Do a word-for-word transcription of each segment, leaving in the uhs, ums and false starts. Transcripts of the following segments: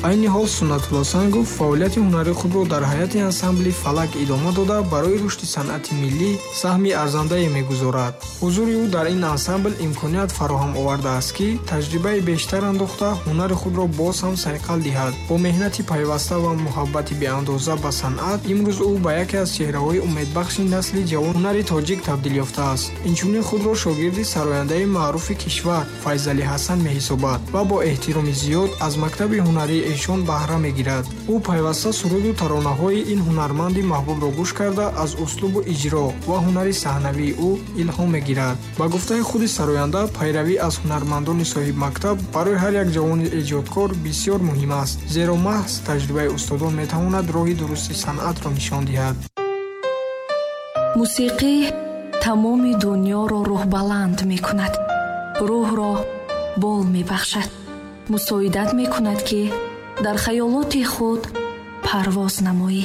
Айни ҳол Суннатулло Сангов фаъолияти ҳунарии худро дар ҳайати ансамбли «Фалак» идома дода, барои рушди санъати миллӣ саҳми арзандае мегузорад. Ҳузури ӯ дар ин ансамбл имконият фароҳам овардааст, ки таҷрибаи бештар андохта, ҳунари худро боз ҳам сайқал диҳад. Бо меҳнати пайваста ва муҳаббати беандоза ба санъат, имрӯз ӯ ба яке аз чеҳраҳои умедбахши насли ҷавон ҳунари тоҷик табдил ёфтааст. Инчунин худро шогирди сарояндаи маъруфи кишвар Файзалӣ Ҳасан меҳисобад ва бо эҳтироми зиёд аз мактаби ҳунарии эшон баҳра мегирад. Ӯ пайваста суруду таронаҳои ин ҳунарманди маҳбубро гӯш карда, аз услубу иҷро ва ҳунари саҳнавии ӯ илҳом мегирад. Ба гуфтаи худи сароянда, пайравӣ аз ҳунармандони соҳибмактаб барои ҳар як ҷавони эҷодкор бисёр муҳим аст, зеро маҳз таҷрибаи устодон метавонад роҳи дурусти санъатро нишон диҳад. Мусиқӣ тамоми дунёро рӯҳбаланд мекунад, рӯҳро бол мебахшад, мусоидат мекунад, ки дар хаёлоти худ парвоз намоӣ.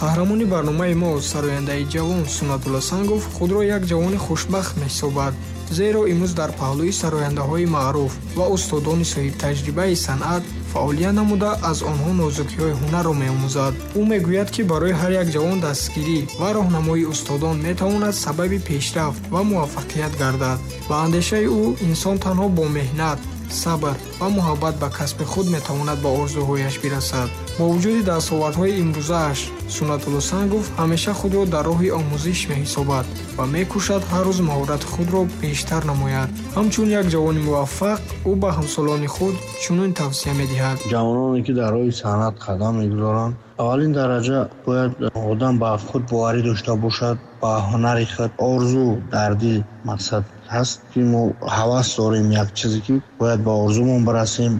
Қаҳрамони барномаи мо, сарояндаи ҷавон Суннатулло Сангов, худро як ҷавони хушбахт меҳисобад, зеро имрӯз дар паҳлӯи сарояндаҳои маъруф ва устодони соҳибтаҷрибаи санъат фаъолият намуда, аз онҳо нозукиҳои ҳунарро меомӯзад. Ӯ мегӯяд, ки барои ҳар як ҷавон дастгирӣ ва роҳнамоии устодон метавонад сабаби пешрафт ва муваффақият гардад. Ба андешаи ӯ, инсон танҳо бо меҳнат, сабр ва муҳаббат ба касби худ метавонад ба орзуҳояш бирасад. Бо вуҷуди дастовардҳои имрӯзааш, Суннатулло Сангов ҳамеша худро дар роҳи омӯзиш меҳисобад ва мекӯшад ҳар рӯз маҳорати худро бештар намояд. Ҳамчун як ҷавони муваффақ, ӯ ба ҳамсолони худ чунин тавсия медиҳад: Ҷавононе, ки дар роҳи санъат қадам мегузоранд, аввалин дараҷа бояд одам ба худ боварӣ дошта бошад, ба ҳунари худ. Орзу дар дил мақсад ҳаст, ки мо ҳавас дорем, як чизе, ки бояд ба орзумон бирасем.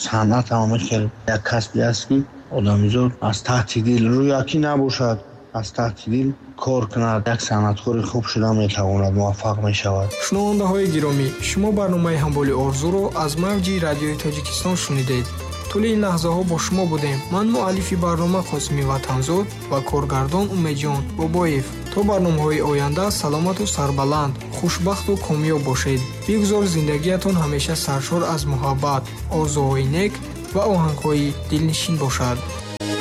Санъат ҳам хеле як касбе аст, ки одамизод аз таҳти дил, рӯякӣ набошад, аз таҳти дил кор кунад, як санъаткори хуб шуда метавонад, муваффақ мешавад. Шунавандаҳои гиромӣ, шумо барномаи «Ҳамболи орзуро» аз мавҷи Радиои Тоҷикистон шунидед. Тӯли ин лаҳзаҳо бо шумо будем ман, муаллифи барнома Қосими Ватанзод ва коргардон Умедҷон Бобоев. То барномаҳои оянда саломату сарбаланд, хушбахту комёб бошед. Бигзор зиндагиятон ҳамеша саршор аз муҳаббат, орзуҳои нек ва оҳангҳои дилнишин бошад.